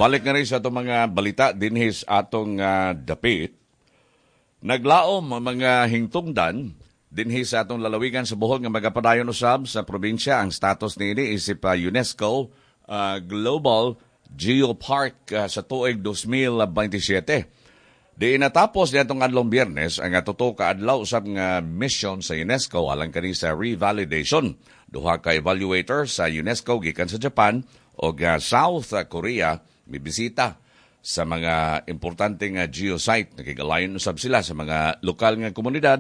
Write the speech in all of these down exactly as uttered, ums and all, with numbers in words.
Balik na rin sa atong mga balita dinhi sa atong uh, dapit. Naglaom ang mga hingtungdan dinhi sa atong lalawigan sa Bohol nga magapadayon usab sa probinsya ang status niini isip uh, UNESCO uh, Global Geopark uh, sa tuig dalawang libo labing siyam. Di natapos niadtong adlong Biyernes ang tuto ka adlaw usab nga mission sa UNESCO alang kani sa revalidation. Duha ka evaluator sa UNESCO gikan sa Japan o uh, South Korea mibisita sa mga importante nga geosite. Nakigalayon usab sila sa mga lokal nga komunidad,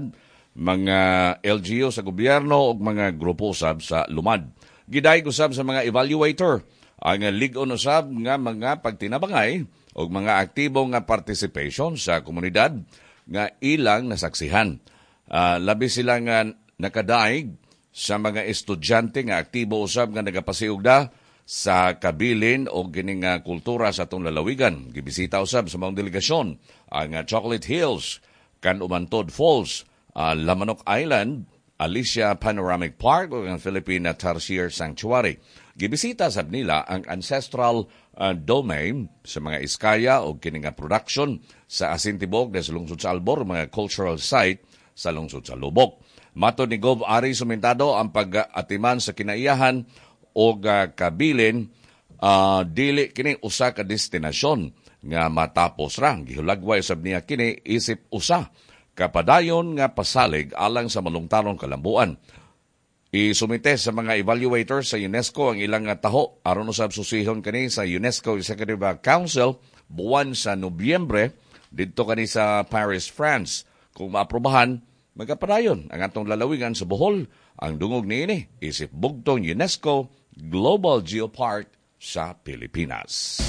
mga L G U sa gobyerno ug mga grupo usab sa lumad. Gidayeg usab sa mga evaluator ang lig-on usab nga mga pagtinabangay ug mga aktibo nga participation sa komunidad nga ilang nasaksihan. Uh, labi sila nga nakadaig sa mga estudyante nga aktibo usab nga nagapasiugda sa kabilin o kining nga kultura sa atong lalawigan. Gibisita usab sa mga delegasyon ang Chocolate Hills, Kanumantod Falls, uh, Lamanok Island, Alicia Panoramic Park ug ang Philippine Tarsier Sanctuary. Gibisita sab nila ang ancestral uh, domain sa mga Eskaya o kini nga production sa Asintibog sa lungsod sa Albor, mga cultural site sa lungsod sa Loboc. Matod ni Gov Ari Sumintado, ang pag-atiman sa kinaiyahan o uh, kabilin uh, dili kini usa ka destinasyon nga matapos ra. Gihulagway usab niya kini isip usa kapadayon nga pasalig alang sa malungtaron kalambuan. Isumite sa mga evaluators sa UNESCO ang ilang taho aron usab susihon kani sa UNESCO Executive Council buwan sa Nobyembre didto kani sa Paris, France. Kung maaprobahan, magapadayon ang atong lalawigan sa Bohol ang dungog niini isip bugtong UNESCO Global Geopark sa Pilipinas.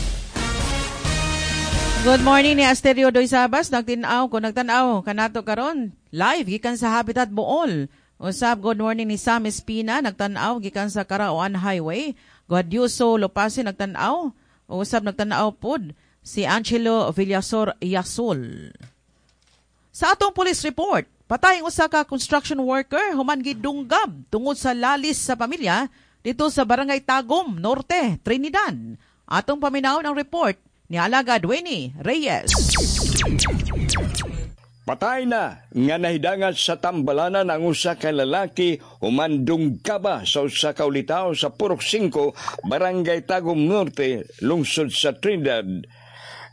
Good morning ni Asterio Doy Sabas, nagtinaw ko nagtan-aw kanato karon live gikan sa Habitat Bool. Usab, good morning ni Sam Espina, nagtan-aw gikan sa Karaoan Highway. Guadioso Lopase nagtan-aw. Usab, nagtan-aw pod si Angelo Villasor Yasol. Sa atong police report, patay ang usa ka construction worker human gidunggab tungod sa lalis sa pamilya dito sa Barangay Tagum Norte, Trinidad. Atong paminawon ang report ni Alagad Winnie Reyes. Patay na nga nahidangat sa tambalanan ang usa ka lalaki human dunggaba sa usa ka ulitawo sa Purok singko, Barangay Tagum Norte, lungsod sa Trinidad.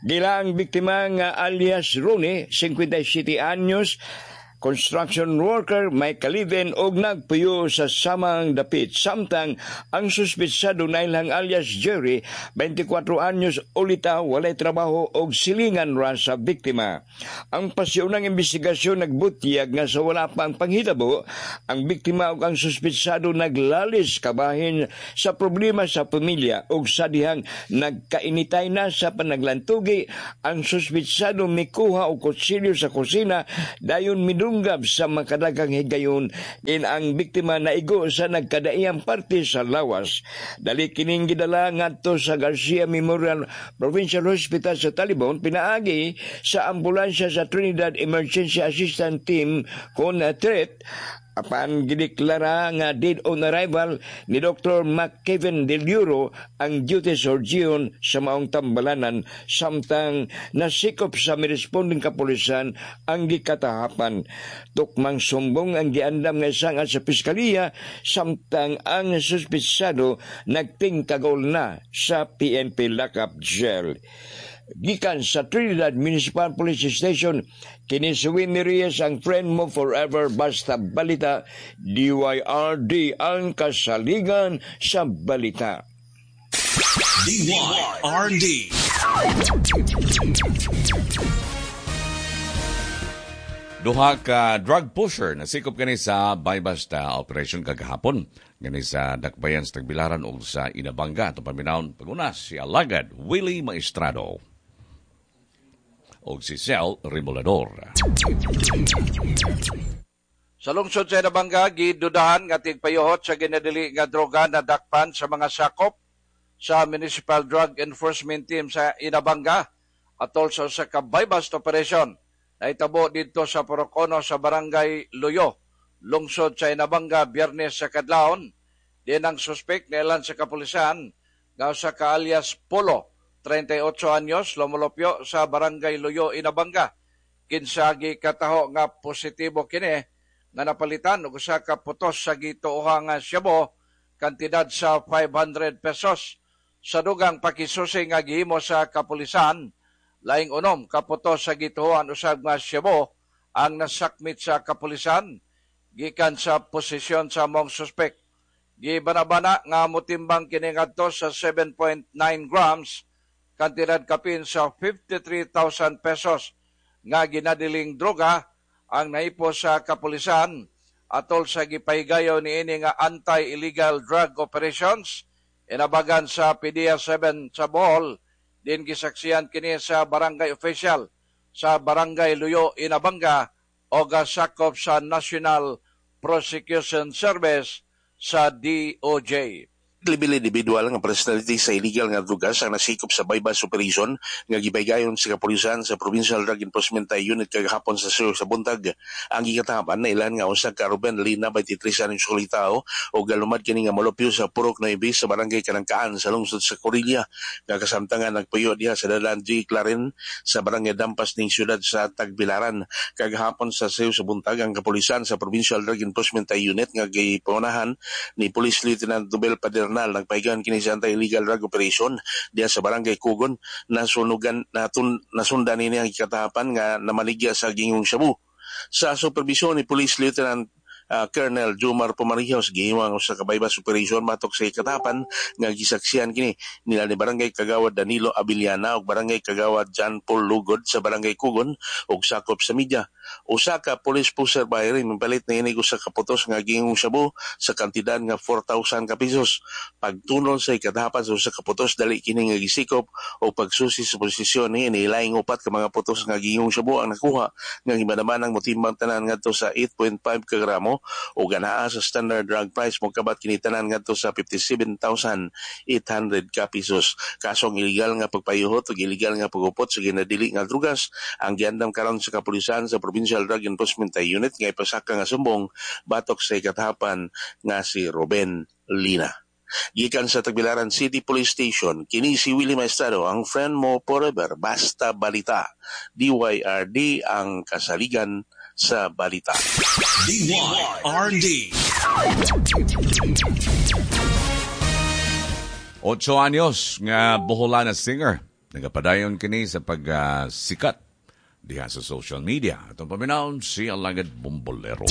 Giila ang biktima nga alias Ronnie, singkwenta y siyete anyos, construction worker, may ka-live-in og nagpuyo sa samang dapit. Samtang ang suspitsado na ilang alias Jerry, beinte kuwatro anyos, ulitawo, walay trabaho og silingan ra sa biktima. Ang pasiunang investigasyon nagbutyag nga sa wala pa ang panghitabo, ang biktima ug ang suspitsado naglalis kabahin sa problema sa pamilya ug sa dihang nagkainitay na sa panaglantugi, ang suspitsado mikuha og kutsilyo sa kusina dayon midunggab sa makadaghang higayon in ang biktima naigo sa nagkadaiyang parte sa lawas. Dali kining gidala ngadto sa Garcia Memorial Provincial Hospital sa Talibon pinaagi sa ambulansya sa Trinidad Emergency Assistance Team kon threat, apan gideklara nga dead on arrival ni Doctor McKevin Del Euro, ang duty surgeon sa maong tambalanan, samtang nasikop sa miresponding kapulisan ang gikatahapan. Tukmang sumbong ang giandam nga isangad sa piskaliya, samtang ang suspitsado nagtingkagol na sa P N P lockup jail. Gikan sa Trinidad Municipal Police Station, kini si Winnie Reyes, ang friend mo forever, basta balita, D Y R D ang kasaligan sa balita. D Y R D. Duha ka drug pusher nasikop kani sa buy-bust operation kagahapon gani sa Dakbayan sa Tagbilaran ug sa Inabanga. Atong paminawon paguna si Alagad Willie Maestrado ug si Sel Remolador. Sa lungsod sa Inabanga, gidudahan nga tigpayuhot sa ginadili nga droga na dakpan sa mga sakop sa Municipal Drug Enforcement Team sa Inabanga atol sa usa ka buy-bust operation nahitabo didto sa Purok Uno sa Barangay Luyo, lungsod sa Inabanga, Biyernes sa kadlawon. Din ang suspect niilan sa kapulisan nga usa ka alias Polo trenta'y otso anyos, lumulupyo sa Barangay Luyo, Inabanga. Kinsa gikataho nga positibo kini nga napalitan og usa ka putos sa gituoha nga shabu kantidad sa five hundred pesos. Sa dugang pakisusi nga gihimo sa kapulisan, laing unom ka putos sa gituohan usab nga shabu ang nasakmit sa kapulisan gikan sa posisyon sa mong suspek. Gibanabana nga motimbang kini ngadto sa seven point nine grams, kantidad kapin sa fifty-three thousand pesos nga ginadiling droga ang nahipo sa kapulisan atol sa gipahigayon niini nga anti-illegal drug operations inabagan sa P D E A seven sa Bohol, din gisaksiyan kini sa barangay official sa Barangay Luyo, Inabanga o sakop sa National Prosecution Service sa D O J. Level individual nga personality sa illegal nga drugas ang nasikop sa buy-bust operation nga gibaygayon sa kapulisan sa Provincial Drug Enforcement Unit kagahapon sa Sur sa buntag. Ang gikatahapan na ilan nga usa ka Ruben Lina, twenty-three anyos ulitawo o galumad kini nga molupyo sa Purok nine sa Barangay Kanangkaan sa lungsod sa Korilya nga kasamtangan nagpuyo diha sa Dalan G. Clarin sa Barangay Dampas ning siyudad sa Tagbilaran. Kagahapon sa sayo sa buntag, ang kapulisan sa Provincial Drug Enforcement Unit nga gipangunahan ni Police Lieutenant Nobel Padernal nagpahigayon kini sa anti-illegal drug operation diha sa Barangay Kugon. Nasunugan natun nasundan nini ang ikatahapan nga namaligya sa gingong shabu. Sa supervisyon ni Police Lieutenant uh, Colonel Jumar Pumarijos, gihimo ang usa ka buy-bust operation matok sa ikatahapan nga gisaksihan kini nila ni Barangay Kagawad Danilo Abiliana ug Barangay Kagawad John Paul Lugod sa Barangay Kugon ug sakop sa media. Usa ka police poseur buyer mipalit na ini usa ka putos nga gingong shabu sa kantidad nga four thousand ka pesos. Pagtunol sa ikatahapan sa usa ka putos, dali kini nga gisikop o pagsusi sa posisyon ni laing upat ka mga putos nga gingong shabu ang nakuha nga gibanabanang motimbang tanan ngadto sa eight point five ka gramo o ganaa sa standard drug price mokabat kini tanan ngadto sa fifty-seven thousand eight hundred ka pesos. Kasong illegal nga pagpayuhot ug illegal nga pagupot sa ginadili nga drugas ang giandam karon sa kapulisan sa Provincial Drug Enforcement Unit nga ipasaka nga sumbong batok sa ikatahapan nga si Ruben Lina. Gikan sa Tagbilaran City Police Station, kini si Willie Maestrado, ang friend mo forever, basta balita. D Y R D, ang kasaligan sa balita. D Y R D. Otso anyos nga Boholana singer. Nagapadayon kini sa pagsikat diha sa social media. Atong paminawon si Alagad Bombolero.